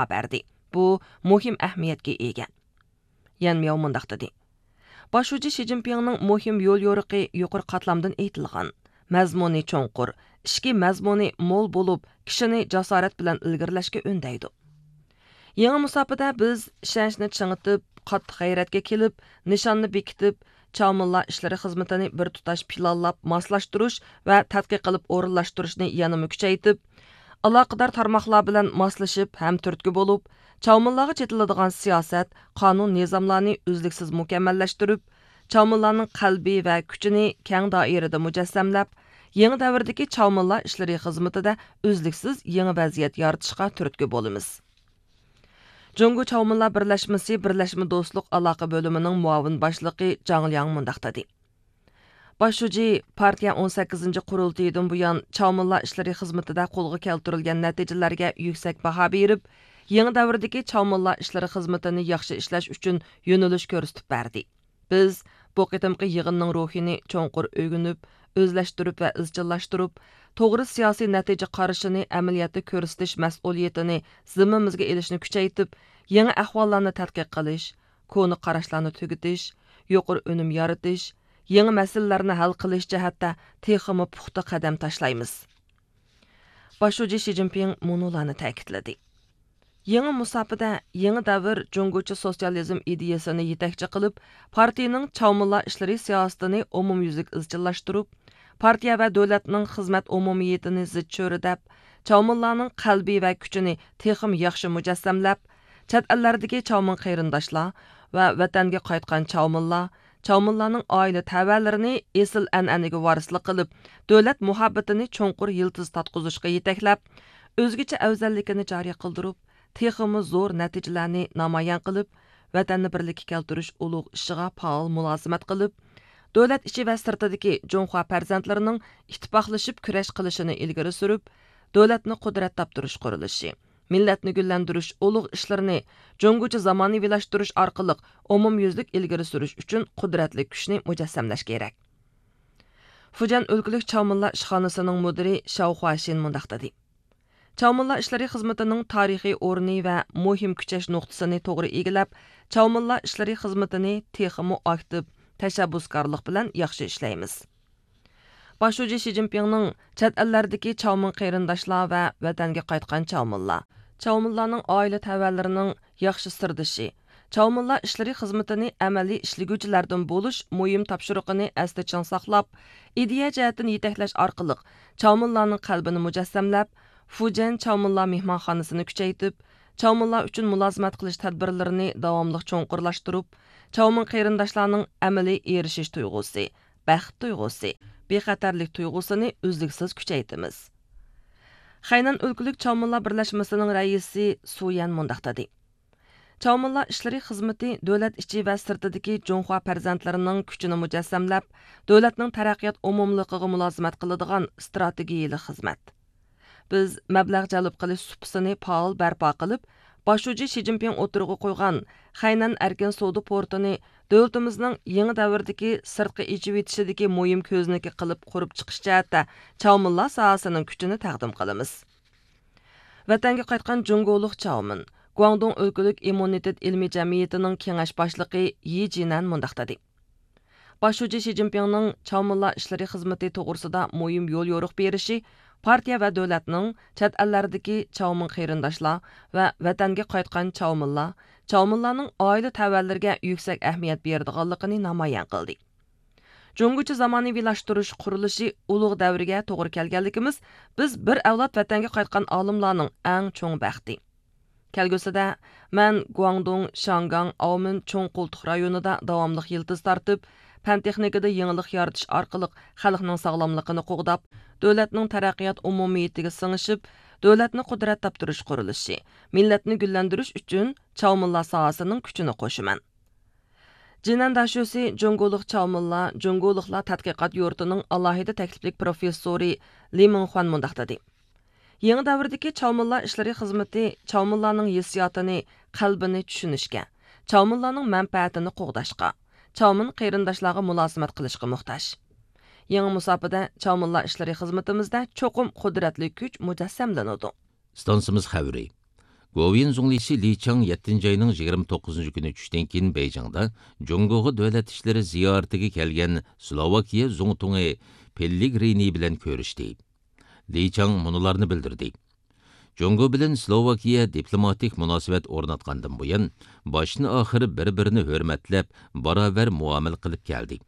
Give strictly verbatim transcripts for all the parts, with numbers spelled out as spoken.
ئاپەردى. بۇ مۇھىم ئەھمىيەتكە ئىگە. يەن مياۋ مۇنداق دېدى: باش شۇجى شى جىنپىڭنىڭ مۇھىم يول يورۇقى يۇقىرى قاتلامدىن ئېيتىلغان، مەزمۇنى چوڭقۇر، ئىچكى مەزمۇنى مول بولۇپ، كىشىنى جاسارەت بىلەن ئىلگىرىلەشكە ئۈندەيدۇ. يېڭى مۇساپىدە بىز ئىشەنچنى چىڭىتىپ، قاتتىق غەيرەتكە كېلىپ، نىشاننى بېكىتىپ، چاۋمىنلا ئىشلىرى خىزمىتىنى بىر تۇتاش پىلانلاپ ماسلاشتۇرۇش ۋە تەتقىق قىلىپ ئورۇنلاشتۇرۇشنى يەنىمۇ كۈچەيتىپ، ئالاقىدار تارماقلار بىلەن ماسلىشىپ، ھەمتۈرتكە بولۇپ، چاۋمىنلارغا چېتىلىدىغان سىياسەت، قانۇن نىزاملارنى ئۈزلۈكسىز مۇكەممەللەشتۈرۈپ، چاۋمىنلارنىڭ قەلبى ۋە كۈچىنى كەڭ دائىرىدە مۇجەسسەملەپ، يېڭى دەۋردىكى چاۋمىنلا ئىشلىرى خىزمىتىدە ئۈزلۈكسىز يېڭى ۋەزىيەت يارىتىشقا تۈرتكە بولىمىز. جۇڭگو چاۋمىنلا بىرلەشمىسى بىرلەشمە دوستلۇق ئالاقە بۆلۈمىنىڭ مۇئاۋىن باشلىقى جاڭ لياڭ مۇنداق دېدى: باش شۇجى پارتىيە ئون سەككىزىنچى قۇرۇلتىيىدىن بۇيان چاۋمىنلا ئىشلىرى خىزمىتىدە قولغا كەلتۈرۈلگەن نەتىجىلەرگە يۈكسەك باھا بېرىپ، يېڭى دەۋردىكى چاۋمىنلا ئىشلىرى خىزمىتىنى ياخشى ئىشلەش ئۈچۈن يۆنىلىش كۆرسىتىپ بەردى. بىز بۇ قېتىمقى يىغىننىڭ روھىنى چوڭقۇر ئۆگىنىپ، ئۆزلەشتۈرۈپ ۋە ئىزچىللاشتۇرۇپ، توغرا سىياسىي نەتىجە قارىشىنى ئەمەلىيەتتە كۆرسىتىش مەسئۇلىيىتىنى زىممىمىزگە ئېلىشنى كۈچەيتىپ، يېڭى ئەھۋاللارنى تەتقىق قىلىش، كونا قاراشلارنى تۈگىتىش، يۇقىرى ئۈنۈم يارىتىش، يېڭى مەسىلىلەرنى ھەل قىلىش جەھەتتە تېخىمۇ پۇختا قەدەم تاشلايمىز. باش شۇجى شى جىنپىڭ مۇنۇلارنى تەكىتلىدى: يېڭى مۇساپىدە يېڭى دەۋر جۇڭگوچە سوتسىيالىزم ئىدىيەسىنى يېتەكچى قىلىپ، پارتىيىنىڭ چاۋمىنلا ئىشلىرى سىياسىتىنى ئومۇميۈزلۈك ئىزچىللاشتۇرۇپ، پارتىيە ۋە دۆلەتنىڭ خىزمەت ئومۇمىيىتىنى زىچ چۆرىدەپ، چاۋمىنلانىڭ قەلبى ۋە كۈچىنى تېخىمۇ ياخشى مۇجەسسەملەپ، چەت ئەللەردىكى چاۋمىن قېرىنداشلار ۋە ۋەتەنگە قايتقان چاۋمىنلار، چاۋمىنلارنىڭ ئائىلە تەۋەلىرىنى ئېسىل ئەنئەنىگە ۋارىسلىق قىلىپ، دۆلەت مۇھەببىتىنى چوڭقۇر يىلتىز تارتقۇزۇشقا يېتەكلەپ، ئۆزگىچە ئەۋزەللىكىنى جارى قىلدۇرۇپ، تېخىمۇ زور نەتىجىلەرنى نامايان قىلىپ، ۋەتەننى بىرلىككە كەلتۈرۈش ئۇلۇغ ئىشىغا پائال مۇلازىمەت قىلىپ، دۆلەت ئىچى ۋە سىرتىدىكى جۇڭخۇا پەرزەنتلىرىنىڭ ئىتتىپاقلىشىپ كۈرەش قىلىشىنى ئىلگىرى سۈرۈپ، دۆلەتنى قۇدرەت تاپتۇرۇش قۇرۇلۇشى، مىللەتنى گۈللەندۈرۈش ئۇلۇغ ئىشلىرىنى جۇڭگوچە زامانىۋىلاشتۇرۇش ئارقىلىق ئومۇميۈزلۈك ئىلگىرى سۈرۈش ئۈچۈن قۇدرەتلىك كۈچنى مۇجەسسەملەش كېرەك. فۇجيەن ئۆلكىلىك چاۋمىنلا ئىشخانىسىنىڭ مۇدىرى شاۋ خۇاشىن مۇنداق دېدى: چاۋمىنلا ئىشلىرى خىزمىتىنىڭ تارىخىي ئورنى ۋە مۇھىم كۈچەش نۇقتىسىنى توغرا ئىگىلەپ، چاۋمىنلا ئىشلىرى خىزمىتىنى تېخىمۇ ئاكتىپ، تەشەببۇسكارلىق بىلەن ياخشى ئىشلەيمىز. باش شۇجى شى جىنپىڭنىڭ چەت ئەللەردىكى چاۋمىن قېرىنداشلار ۋە ۋەتەنگە قايتقان چاۋمىنلار، چاۋمىنلارنىڭ ئائىلە تەۋەلىرىنىڭ ياخشى سىردىشى، چاۋمىنلا ئىشلىرى خىزمىتىنى ئەمەلىي ئىشلىگۈچىلەردىن بولۇش مۇھىم تاپشۇرۇقىنى ئەستە چىڭ ساقلاپ، ئىدىيە جەھەتتىن يېتەكلەش ئارقىلىق چاۋمىنلارنىڭ قەلبىنى مۇجەسسەملەپ، فۇجيەن چاۋمىنلا مېھمانخانىسىنى كۈچەيتىپ، چاۋمىنلار ئۈچۈن مۇلازىمەت قىلىش تەدبىرلىرىنى داۋاملىق چوڭقۇرلاشتۇرۇپ، چاۋمىن قېرىنداشلارنىڭ ئەمەلىي ئېرىشىش تۇيغۇسى، بەخت تۇيغۇسى، بىخەتەرلىك تۇيغۇسىنى ئۈزلۈكسىز كۈچەيتىمىز. خەينەن ئۆلكىلىك چاۋمىنلار بىرلەشمىسىنىڭ رەئىسى سۇ يەن مۇنداق دېدى: چاۋمىنلار ئىشلىرى خىزمىتى دۆلەت ئىچى ۋە سىرتىدىكى جۇڭخۇا پەرزەنتلىرىنىڭ كۈچىنى مۇجەسسەملەپ، دۆلەتنىڭ تەرەققىيات ئومۇملۇقىغا مۇلازىمەت قىلىدىغان ئىستراتېگىيىلىك خىزمەت. بىز مەبلەغ جەلپ قىلىش سۇپىسىنى پائال بەرپا قىلىپ، باش شۇجى شى جىنپىڭ ئوتتۇرىغا قويغان خەينەن ئەركىن سودا پورتىنى دۆلىتىمىزنىڭ يېڭى دەۋردىكى سىرتقا ئېچىۋېتىشىدىكى مۇھىم كۆزنىكى قىلىپ قۇرۇپ چىقىش جەھەتتە چاۋمىنلار ساھەسىنىڭ كۈچىنى تەقدىم قىلىمىز. ۋەتەنگە قايتقان جۇڭگولۇق چاۋمىن، گۇاڭدۇڭ ئۆلكىلىك ئىممۇنىتېت ئىلمىي جەمئىيىتىنىڭ كېڭەش باشلىقى يى جىنەن مۇنداق دېدى: باش شۇجى شى جىنپىڭنىڭ چاۋمىنلار ئىشلىرى خىزمىتى توغرىسىدا مۇھىم يول يورۇق بېرىشى پارتىيە ۋە دۆلەتنىڭ چەت ئەللەردىكى چاۋمىن قېرىنداشلار ۋە ۋەتەنگە قايتقان چاۋمىنلار، چاۋمىنلارنىڭ ئائىلە تەۋەلىرىگە يۈكسەك ئەھمىيەت بېرىدىغانلىقىنى نامايان قىلدى. جۇڭگوچە زامانىۋىلاشتۇرۇش قۇرۇلۇشى ئۇلۇغ دەۋرگە توغرا كەلگەنلىكىمىز بىز بىر ئەۋلاد ۋەتەنگە قايتقان ئالىملارنىڭ ئەڭ چوڭ بەختى. كەلگۈسىدە مەن گۇاڭدۇڭ، شياڭگاڭ، ئاۋمېن چوڭ قولتۇق رايونىدا داۋاملىق يىلتىز تارتىپ، پەن تېخنىكىدا يېڭىلىق يارىتىش ئارقىلىق خەلقنىڭ ساغلاملىقىنى قوغداپ، دۆلەتنىڭ تەرەققىيات ئومۇمىيىتىگە سىڭىشىپ، دۆلەتنى قۇدرەت تاپتۇرۇش قۇرۇلۇشى، مىللەتنى گۈللەندۈرۈش ئۈچۈن چاۋمىنلار ساھەسىنىڭ كۈچىنى قوشىمەن. جىنەن داشۆسى جۇڭگولۇق چاۋمىنلار، جۇڭگولۇقلار تەتقىقات يۇرتىنىڭ ئالاھىدە تەكلىپلىك پروفېسسورى لى مىڭخۇەن مۇنداق دېدى: يېڭى دەۋردىكى چاۋمىنلار ئىشلىرى خىزمىتى چاۋمىنلارنىڭ ھېسسىياتىنى، قەلبىنى چۈشىنىشكە، چاۋمىنلارنىڭ مەنپەئەتىنى قوغداشقا، چاۋمىن قېرىنداشلارغا مۇلازىمەت قىلىشقا موھتاج. يېڭى مۇساپىدە چاۋمىنلار ئىشلىرى خىزمىتىمىزدە چوقۇم قۇدرەتلىك كۈچ مۇجەسسەملىنىدۇ. ئىستانسىمىز خەۋىرى. گوۋۇيۈەن زۇڭلىسى لى چاڭ يەتتىنچى ئاينىڭ يىگىرمە توققۇزىنچى كۈنى چۈشتىن كېيىن بېيجىڭدا جۇڭگوغا دۆلەت ئىشلىرى زىيارىتىگە كەلگەن سلوۋاكىيە زۇڭتۇڭى پېللېگرىنى بىلەن كۆرۈشتى. لى چاڭ مۇنۇلارنى بىلدۈردى: جۇڭگو بىلەن سلوۋاكىيە دىپلوماتىك مۇناسىۋەت ئورناتقاندىن بۇيان، باشتىن ئاخىر بىر-بىرىنى ھۆرمەتلەپ، باراۋەر مۇئامىلە قىلىپ كەلدى.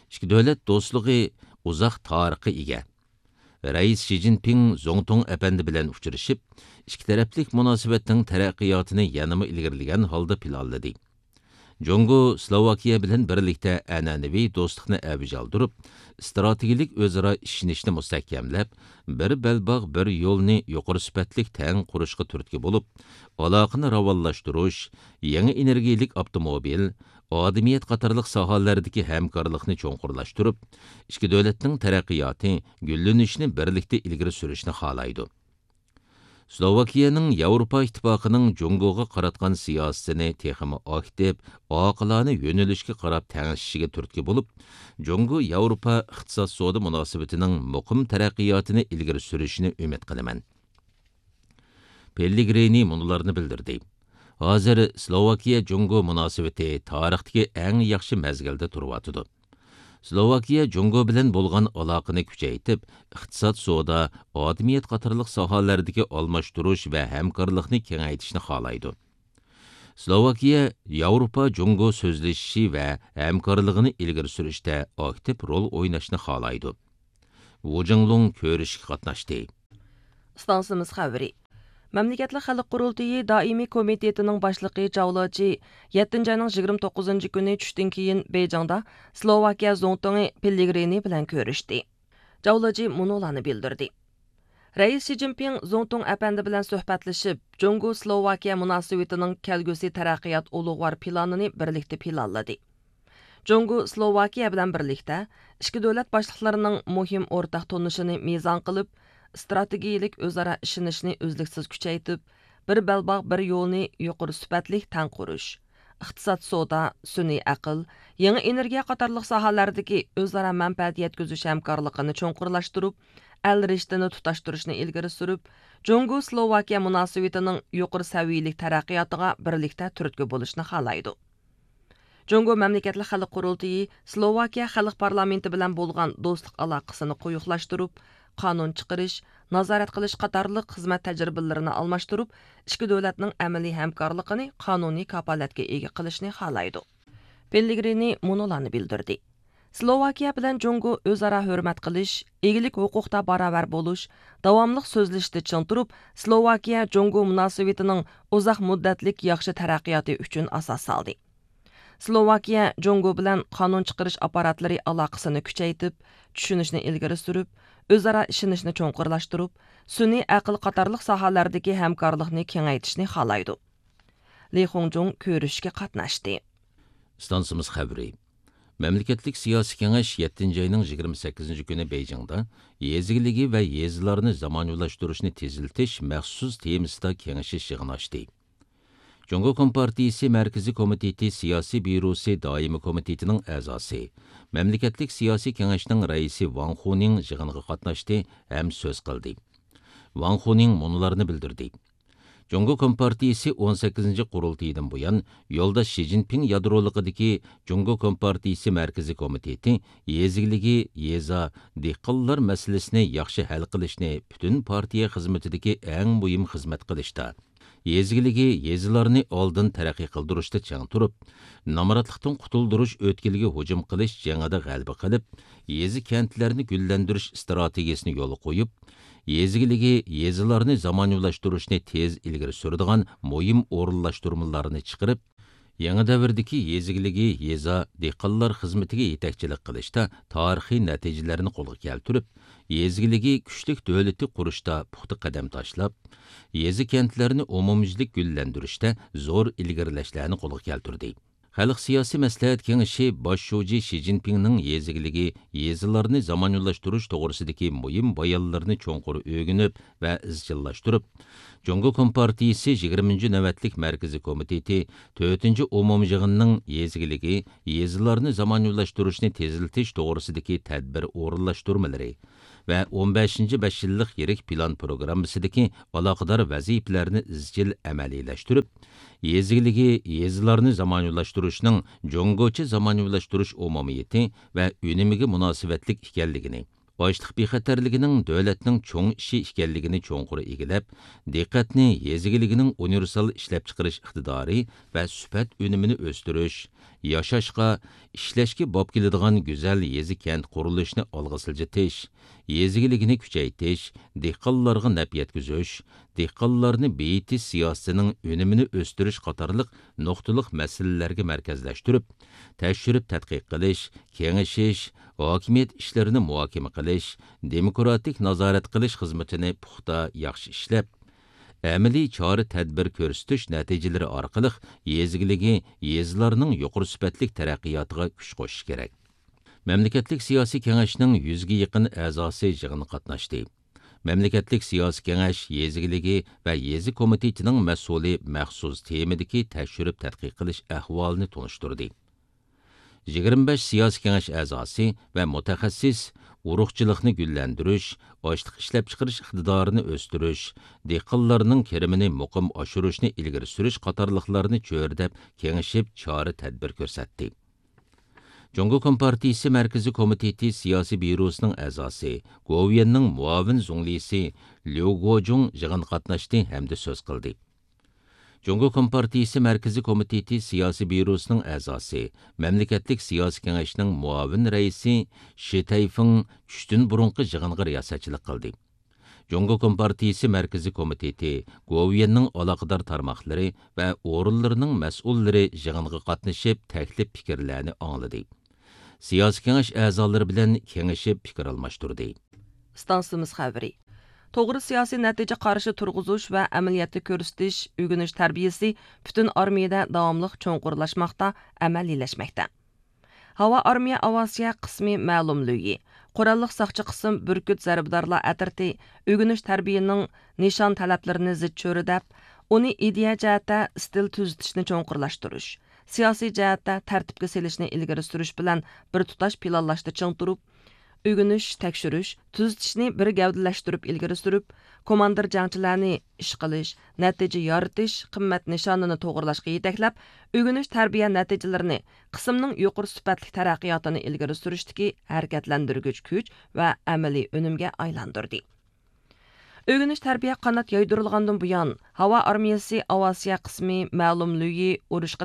ئىككى دۆلەت دوستلۇقى ئۇزاق تارىخقا ئىگە. رەئىس شى جىنپىڭ زۇڭتۇڭ ئەپەندى بىلەن ئۇچرىشىپ، ئىككى تەرەپلىك مۇناسىۋەتنىڭ تەرەققىياتىنى يەنىمۇ ئىلگىرىلىگەن ھالدا پىلانلىدى. جۇڭگو سلوۋاكىيە بىلەن بىرلىكتە ئەنئەنىۋى دوستلۇقنى ئەۋج ئالدۇرۇپ، ئىستراتېگىيەلىك ئۆزئارا ئىشىنىشنى مۇستەھكەملەپ، بىر بەلباغ، بىر يولنى يۇقىرى سۈپەتلىك تەڭ قۇرۇشقا تۈرتكە بولۇپ، ئالاقىنى راۋانلاشتۇرۇش، يېڭى ئېنېرگىيەلىك ئاپتوموبىل، ئادىمىيەت قاتارلىق ساھەلەردىكى ھەمكارلىقنى چوڭقۇرلاشتۇرۇپ، ئىككى دۆلەتنىڭ تەرەققىياتى، گۈللىنىشىنى بىرلىكتە ئىلگىرى سۈرۈشنى خالايدۇ. سلوۋاكىيەنىڭ ياۋروپا ئىتتىپاقىنىڭ جۇڭگوغا قاراتقان سىياسىتىنى تېخىمۇ ئاكتىپ، ئاقىلانە يۆنىلىشكە قاراپ تەڭشىشىگە تۈرتكە بولۇپ، جۇڭگو ياۋروپا ئىقتىساد سودا مۇناسىۋىتىنىڭ مۇقىم تەرەققىياتىنى ئىلگىرى سۈرۈشىنى ئۈمىد قىلىمەن. پېللېگرىنى مۇنۇلارنى بىلدۈردى: ھازىر سلوۋاكىيە جۇڭگو مۇناسىۋىتى تارىختىكى ئەڭ ياخشى مەزگىلدە تۇرۇۋاتىدۇ. سلوۋاكىيە جۇڭگو بىلەن بولغان ئالاقىنى كۈچەيتىپ، ئىقتىساد، سودا، ئادىمىيەت قاتارلىق ساھەلەردىكى ئالماشتۇرۇش ۋە ھەمكارلىقنى كېڭەيتىشنى خالايدۇ. سلوۋاكىيە ياۋروپا جۇڭگو سۆزلىشىشى ۋە ھەمكارلىقىنى ئىلگىرى سۈرۈشتە ئاكتىپ رول ئويناشنى خالايدۇ. ۋۇ جىڭلۇڭ كۆرۈشۈشكە قاتناشتى. ئىستانسىمىز خەۋىرى. مەملىكەتلىك خەلق قۇرۇلتىيى دائىمىي كومىتېتىنىڭ باشلىقى جاۋ لېچى يەتتىنچى ئاينىڭ يىگىرمە توققۇزىنچى كۈنى چۈشتىن كېيىن بېيجىڭدا سلوۋاكىيە زۇڭتۇڭى پېللېگرىنى بىلەن كۆرۈشتى. جاۋ لېچى مۇنۇلارنى بىلدۈردى: رەئىس شى جىنپىڭ زۇڭتۇڭ ئەپەندى بىلەن سۆھبەتلىشىپ، جۇڭگو سلوۋاكىيە مۇناسىۋىتىنىڭ كەلگۈسى تەرەققىيات ئۇلۇغۋار پىلانىنى بىرلىكتە پىلانلىدى. جۇڭگو سلوۋاكىيە بىلەن بىرلىكتە ئىككى دۆلەت باشلىقلىرىنىڭ مۇھىم ئورتاق تونۇشىنى مىزان قىلىپ، ئىستراتېگىيەلىك ئۆزئارا ئىشىنىشنى ئۈزلۈكسىز كۈچەيتىپ، بىر بەلباغ، بىر يولنى يۇقىرى سۈپەتلىك تەڭ قۇرۇش، ئىقتىساد، سودا، سۈنئىي ئەقىل، يېڭى ئېنېرگىيە قاتارلىق ساھەلەردىكى ئۆزئارا مەنپەئەت يەتكۈزۈش ھەمكارلىقىنى چوڭقۇرلاشتۇرۇپ، ئەل رىشتىنى تۇتاشتۇرۇشنى ئىلگىرى سۈرۈپ، جۇڭگو سلوۋاكىيە مۇناسىۋىتىنىڭ يۇقىرى سەۋىيەلىك تەرەققىياتىغا بىرلىكتە تۈرتكە بولۇشنى خالايدۇ. جۇڭگو مەملىكەتلىك خەلق قۇرۇلتىيى سلوۋاكىيە خەلق پارلامېنتى بىلەن بولغان دوستلۇق ئالاقىسىنى قويۇقلاشتۇرۇپ، قانۇن چىقىرىش، نازارەت قىلىش قاتارلىق خىزمەت تەجرىبىلىرىنى ئالماشتۇرۇپ، ئىككى دۆلەتنىڭ ئەمەلىي ھەمكارلىقىنى قانۇنىي كاپالەتكە ئىگە قىلىشنى خالايدۇ. پېللېگرىنى مۇنۇلارنى بىلدۈردى: سلوۋاكىيە بىلەن جۇڭگو ئۆزئارا ھۆرمەت قىلىش، ئىگىلىك ھوقۇقتا باراۋەر بولۇش، داۋاملىق سۆزلىشىشتە چىڭ تۇرۇپ، سلوۋاكىيە جۇڭگو مۇناسىۋىتىنىڭ ئۇزاق مۇددەتلىك ياخشى تەرەققىياتى ئۈچۈن ئاساس سالدى. سلوۋاكىيە جۇڭگو بىلەن قانۇن چىقىرىش ئاپپاراتلىرى ئالاقىسىنى كۈچەيتىپ، چۈشىنىشنى ئىلگىرى سۈرۈپ، ئۆزئارا ئىشىنىشنى چوڭقۇرلاشتۇرۇپ، سۈنئىي ئەقىل قاتارلىق ساھەلەردىكى ھەمكارلىقنى كېڭەيتىشنى خالايدۇ. لى خۇڭجۇڭ كۆرۈشۈشكە قاتناشتى. ئىستانسىمىز خەۋىرى. مەملىكەتلىك سىياسىي كېڭەش يەتتىنچى ئاينىڭ يىگىرمە سەككىزىنچى كۈنى بېيجىڭدا يېزا ئىگىلىكى ۋە يېزىلارنى زامانىۋىلاشتۇرۇشنى تېزلىتىش مەخسۇس تېمىسىدا كېڭىشىش يىغىنى ئاچتى. جۇڭگو كومپارتىيىسى مەركىزىي كومىتېتى سىياسىي بيۇروسى دائىمىي كومىتېتىنىڭ ئەزاسى، مەملىكەتلىك سىياسىي كېڭەشنىڭ رەئىسى ۋاڭ خۇنىڭ يىغىنغا قاتناشتى ھەم سۆز قىلدى. ۋاڭ خۇنىڭ مۇنۇلارنى بىلدۈردى: جۇڭگو كومپارتىيىسى ئون سەككىزىنچى قۇرۇلتىيىدىن بۇيان، يولداش شى جىنپىڭ يادرولۇقىدىكى جۇڭگو كومپارتىيىسى مەركىزىي كومىتېتى يېزا ئىگىلىكى، يېزا، دېھقانلار مەسىلىسىنى ياخشى ھەل قىلىشنى پۈتۈن پارتىيە خىزمىتىدىكى ئەڭ مۇھىم خىزمەت قىلىشتا، يېزا ئىگىلىكى، يېزىلارنى ئالدىن تەرەققىي قىلدۇرۇشتا چىڭ تۇرۇپ، نامراتلىقتىن قۇتۇلدۇرۇش ئۆتكىلىگە ھۇجۇم قىلىش جېڭىدە غەلىبە قىلىپ، يېزا، كەنتلەرنى گۈللەندۈرۈش ئىستراتېگىيىسىنى يولغا قويۇپ، يېزا ئىگىلىكى، يېزىلارنى زامانىۋىلاشتۇرۇشنى تېز ئىلگىرى سۈرىدىغان مۇھىم ئورۇنلاشتۇرمىلارنى چىقىرىپ، يېڭى دەۋردىكى يېزا ئىگىلىكى، يېزا، دېھقانلار خىزمىتىگە يېتەكچىلىك قىلىشتا تارىخىي نەتىجىلەرنى قولغا كەلتۈرۈپ، يېزا ئىگىلىكى كۈچلۈك دۆلىتى قۇرۇشتا پۇختا قەدەم تاشلاپ، يېزا، كەنتلەرنى ئومۇميۈزلۈك گۈللەندۈرۈشتە زور ئىلگىرىلەشلەرنى قولغا كەلتۈردى. خەلق سىياسىي مەسلىھەت كېڭىشى باش شۇجى شى جىنپىڭنىڭ يېزا ئىگىلىكى، يېزىلارنى زامانىۋىلاشتۇرۇش توغرىسىدىكى مۇھىم بايانلىرىنى چوڭقۇر ئۆگىنىپ ۋە ئىزچىللاشتۇرۇپ، جۇڭگو كومپارتىيىسى يىگىرمىنچى نۆۋەتلىك مەركىزىي كومىتېتى تۆتىنچى ئومۇميىغىنىنىڭ يېزا ئىگىلىكى، يېزىلارنى زامانىۋىلاشتۇرۇشنى تېزلىتىش توغرىسىدىكى تەدبىر ئورۇنلاشتۇرمىلىرى، ۋە ئون بەشىنچى بەش يىللىق يىرىك پىلان پروگراممىسىدىكى ئالاقىدار ۋەزىپىلەرنى ئىزچىل ئەمەلىيلەشتۈرۈپ، يېزا ئىگىلىكى، يېزىلارنى زامانىۋىلاشتۇرۇشنىڭ جۇڭگوچە زامانىۋىلاشتۇرۇش ئومۇمىيىتى ۋە ئۈنۈمىگە مۇناسىۋەتلىك ئىكەنلىكىنى، ئاشلىق بىخەتەرلىكىنىڭ دۆلەتنىڭ چوڭ ئىشى ئىكەنلىكىنى چوڭقۇر ئىگىلەپ، دىققەتنى يېزا ئىگىلىكىنىڭ ئۇنىۋېرسال ئىشلەپچىقىرىش ئىقتىدارى ۋە سۈپەت ئۈنۈمىنى ئۆستۈرۈش، ياشاشقا، ئىشلەشكە باب كېلىدىغان گۈزەل يېزا كەنت قۇرۇلۇشىنى ئالغا سىلجىتىش، يېزا ئىگىلىكىنى كۈچەيتىش، دېھقانلارغا نەپ يەتكۈزۈش، دېھقانلارنى بېيىتىش سىياسىتىنىڭ ئۈنۈمىنى ئۆستۈرۈش قاتارلىق نۇقتىلىق مەسىلىلەرگە مەركەزلەشتۈرۈپ، تەكشۈرۈپ تەتقىق قىلىش، كېڭىشىش، ھاكىمىيەت ئىشلىرىنى مۇھاكىمە قىلىش، دېموكراتىك نازارەت قىلىش خىزمىتىنى پۇختا، ياخشى ئىشلەپ، ئەمەلىي چارە-تەدبىر كۆرسىتىش نەتىجىلىرى ئارقىلىق يېزا ئىگىلىكى، يېزىلارنىڭ يۇقىرى سۈپەتلىك تەرەققىياتىغا كۈچ قوشۇش كېرەك. مەملىكەتلىك سىياسىي كېڭەشنىڭ يۈزگە يېقىن ئەزاسى يىغىنغا قاتناشتى. مەملىكەتلىك سىياسىي كېڭەش يېزا ئىگىلىكى ۋە يېزا كومىتېتىنىڭ مەسئۇلى مەخسۇس تېمىدىكى تەكشۈرۈپ تەتقىق قىلىش ئەھۋالىنى تونۇشتۇردى. يىگىرمە بەش سىياسىي كېڭەش ئەزاسى ۋە مۇتەخەسسىس ئۇرۇقچىلىقنى گۈللەندۈرۈش، ئاشلىق ئىشلەپچىقىرىش ئىقتىدارىنى ئۆستۈرۈش، دېھقانلارنىڭ كىرىمىنى مۇقىم ئاشۇرۇشنى ئىلگىرى سۈرۈش قاتارلىقلارنى چۆرىدەپ كېڭىشىپ، چارە-تەدبىر كۆرسەتتى. جۇڭگو كومپارتىيىسى مەركىزىي كومىتېتى سىياسىي بيۇروسىنىڭ ئەزاسى، گوۋۇيۈەننىڭ مۇئاۋىن زۇڭلىسى ليۇ گوجۇڭ يىغىنغا قاتناشتى ھەمدە سۆز قىلدى. جۇڭگو كومپارتىيىسى مەركىزىي كومىتېتى سىياسىي بيۇروسىنىڭ ئەزاسى، مەملىكەتلىك سىياسىي كېڭەشنىڭ مۇئاۋىن رەئىسى شى تەيفېڭ چۈشتىن بۇرۇنقى يىغىنغا رىياسەتچىلىك قىلدى. جۇڭگو كومپارتىيىسى مەركىزىي كومىتېتى گوۋۇيۈەننىڭ ئالاقىدار تارماقلىرى ۋە ئورۇنلىرىنىڭ مەسئۇللىرى يىغىنغا قاتنىشىپ، تەكلىپ پىكىرلەرنى ئاڭلىدى. سىياسىي كېڭەش ئەزالىرى بىلەن كېڭىشىپ پىكىر ئالماشتۇردى. ئىستانسىمىز خەۋىرى. توغرا سىياسىي نەتىجە قارىشى تۇرغۇزۇش ۋە ئەمەلىيەتتە كۆرسىتىش، ئۆگىنىش تەربىيەسى پۈتۈن ئارمىيەدە داۋاملىق چوڭقۇرلاشماقتا، ئەمەلىيلەشمەكتە. ھاۋا ئارمىيە ئاۋىئاتسىيە قىسمى مەلۇم لۈيى، قوراللىق ساقچى قىسىم بۈركۈت زەربىدارلار ئەترىتى ئۆگىنىش تەربىيەنىڭ نىشان تەلەپلىرىنى زىچ چۆرىدەپ، ئۇنى ئىدىيە جەھەتتە ئىستىل تۈزىتىشنى چوڭقۇرلاشتۇرۇش، سىياسىي جەھەتتە تەرتىپكە سېلىشنى ئىلگىرى سۈرۈش بىلەن بىر تۇتاش پىلانلاشتا چىڭ تۇرۇپ، ئۆگىنىش، تەكشۈرۈش، تۈزىتىشنى بىر گەۋدىلەشتۈرۈپ ئىلگىرى سۈرۈپ، كوماندىر جەڭچىلەرنى ئىش قىلىش، نەتىجە يارىتىش قىممەت نىشانىنى توغرىلاشقا يېتەكلەپ، ئۆگىنىش تەربىيە نەتىجىلىرىنى قىسىمنىڭ يۇقىرى سۈپەتلىك تەرەققىياتىنى ئىلگىرى سۈرۈشتىكى ھەرىكەتلەندۈرگۈچ كۈچ ۋە ئەمەلىي ئۈنۈمگە ئايلاندۇردى. ئۆگىنىش تەربىيە قانات يايدۇرۇلغاندىن بۇيان، ھاۋا ئارمىيەسى ئاۋىئاتسىيە قىسمى مەلۇم لۈيى ئۇرۇشقا